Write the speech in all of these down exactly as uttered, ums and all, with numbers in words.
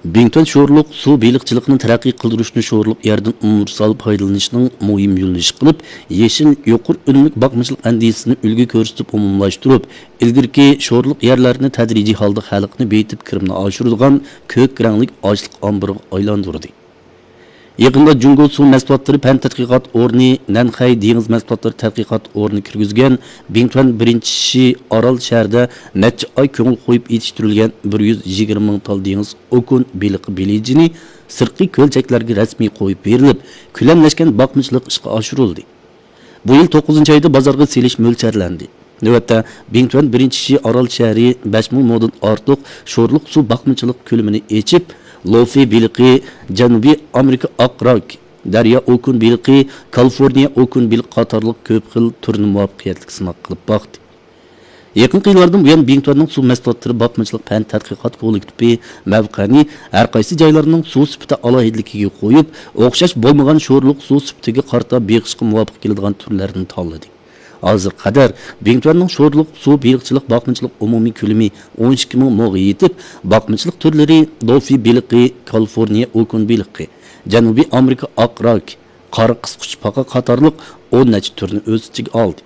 بىڭتۈەن شورلۇق سۇ بېلىقچىلىقىنى تەرەققىي قىلدۇرۇشنى شورلۇق يەردىن ئۇنىۋېرسال پايدىلىنىشنىڭ مۇھىم يۆنىلىشى قىلىپ، يېشىل، يۇقىرى ئۈنۈملۈك باقمىچىلىق ئەندىزىسىنى ئۈلگە كۆرسىتىپ ئومۇملاشتۇرۇپ، ئىلگىرىكى شورلۇق يەرلەرنى تەدرىجىي ھالدا خەلقنى بېيىتىپ، كىرىمنى ئاشۇرىدىغان كۆك رەڭلىك ئاشلىق ئامبىرىغا ئايلاندۇردى. يېقىندا جۇڭگو سۇ مەھسۇلاتلىرى پەن تەتقىقات ئورنى، نەنخەي دېڭىز مەھسۇلاتلىرى تەتقىقات ئورنى كىرگۈزگەن بىڭتۈەن بىرىنچى شى ئارال شەھىرىدە نەچچە ئاي كۆڭۈل قويۇپ يېتىشتۈرۈلگەن بىر يۈز يىگىرمە مىڭ تال دېڭىز ئوكۇن بېلىقى بېلىجىنى سىرتقى كۆلچەكلەرگە رەسمىي قويۇپ بېرىلىپ، كۆلەملەشكەن باقمىچىلىق ئىشقا ئاشۇرۇلدى. بۇ يىل توققۇزىنچى ئايدا بازارغا سېلىش مۆلچەرلەندى. نۆۋەتتە، بىڭتۈەن بىرىنچى شى ئارال شەھىرى بەش مىڭ مودىن ئارتۇق شورلۇق سۇ باقمىچىلىق كۆلىمىنى ئېچىپ، لوفى بېلىقى، جەنۇبىي ئامېرىكا ئاق راك، دەريا ئوكۇن بېلىقى، كالىفورنىيە ئوكۇن بېلىقى قاتارلىق كۆپ خىل تۈرنى مۇۋەپپەقىيەتلىك سىناق قىلىپ باقتى. يېقىنقى يىللاردىن بۇيان، بىڭتۈەننىڭ سۇ مەھسۇلاتلىرى باقمىچىلىق پەن تەتقىقات كوللېكتىپى مەۋقەنى ھەر قايسى جايلارنىڭ سۇ سۈپىتى ئالاھىدىلىكىگە قويۇپ، ئوخشاش بولمىغان شورلۇق سۇ سۈپىتىگە قارىتا بېقىشقا مۇۋاپىق كېلىدىغان تۈرلەرنى تاللىدى. ھازىرغا قەدەر بىڭتۈەننىڭ شورلۇق سۇ بېلىقچىلىق باقمىچىلىق ئومۇمىي كۆلىمى ئون ئىككى مىڭ موغا يېتىپ، باقمىچىلىق تۈرلىرى لوفى بېلىقى، كالىفورنىيە ئوكۇن بېلىقى، جەنۇبىي ئامېرىكا ئاق راك، قارا قىسقۇچپاقا قاتارلىق ئون نەچچە تۈرنى ئۆز ئىچىگە ئالدى.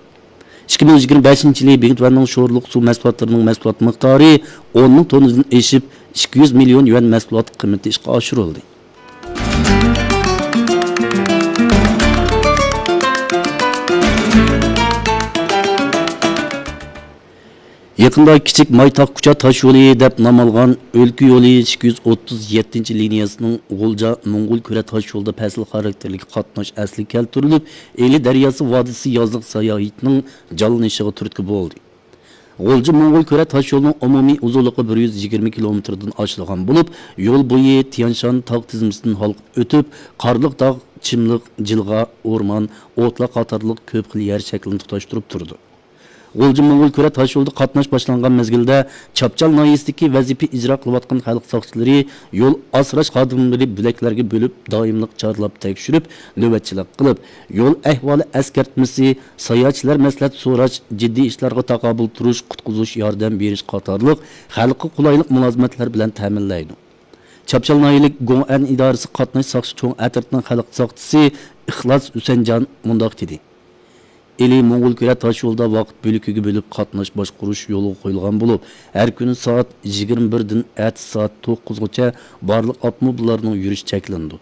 ئىككى مىڭ يىگىرمە بەشىنچى يىلى بىڭتۈەننىڭ شورلۇق سۇ مەھسۇلاتلىرىنىڭ مەھسۇلات مىقدارى ئون مىڭ توننىدىن ئېشىپ، ئىككى يۈز مىليون يۈەن مەھسۇلات قىممىتى ئىشقا ئاشۇرۇلدى. يېقىندا كىچىك مايتاغ كۇچا تاش يولى دەپ نام ئالغان ئۆلكە يولى ئىككى يۈز ئوتتۇز يەتتىنچى لىنىيەسىنىڭ غۇلجا موڭغۇل كۈرە تاش يولىدا پەسىل خاراكتېرلىك قاتناش ئەسلىگە كەلتۈرۈلۈپ، ئىلى دەرياسى ۋادىسى يازلىق ساياھىتىنىڭ جانلىنىشىغا تۈرتكە بولدى. غۇلجا موڭغۇل كۈرە تاش يولىنىڭ ئومۇمىي ئۇزۇنلۇقى بىر يۈز يىگىرمە كىلومېتىردىن ئاشىدىغان بولۇپ، يول بويى تيانشان تاغ تىزمىسىدىن ھالقىپ ئۆتۈپ، قارلىق تاغ، چىملىق، جىلغا، ئورمان، ئوتلاق قاتارلىق كۆپ خىل يەر شەكلىنى تۇتاشتۇرۇپ تۇرىدۇ. غۇلجا موڭغۇل كۈرە تاش يولىدا قاتناش باشلانغان مەزگىلدە، چاپچال ناھىيەسىدىكى ۋەزىپە ئىجرا قىلىۋاتقان خەلق ساقچىلىرى يول ئاسراش خادىملىرى بۆلەكلەرگە بۆلۈپ، دائىملىق چارلاپ تەكشۈرۈپ، نۆۋەتچىلىك قىلىپ، يول ئەھۋالى ئەسكەرتمىسى، ساياھەتچىلەر مەسلىھەت سوراش، جىددىي ئىشلارغا تاقابىل تۇرۇش، قۇتقۇزۇش ياردەم بېرىش قاتارلىق خەلققە قولايلىق مۇلازىمەتلەر بىلەن تەمىنلەيدۇ. چاپچال ناھىيەلىك گوڭئەن ئىدارىسى قاتناش ساقچى چوڭ ئەترىتىنىڭ خەلق ساقچىسى ئىخلاس ھۈسەنجان مۇنداق دېدى. ئىلى موڭغۇل كۈرە تاش يولىدا ۋاقىت بۆلىكىگە بۆلۈپ قاتناش باشقۇرۇش يولغا قويۇلغان بولۇپ، ھەر كۈنى سائەت يىگىرمە بىردىن ئەتىسى سائەت توققۇزغىچە بارلىق ئاپتوموبىللارنىڭ يۈرۈش چەكلىنىدۇ.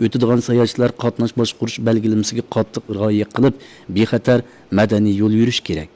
ئۆتىدىغان ساياھەتچىلەر قاتناش باشقۇرۇش بەلگىلىمىسىگە قاتتىق رىئايە قىلىپ، بىخەتەر، مەدەنىي يول يۈرۈش كېرەك.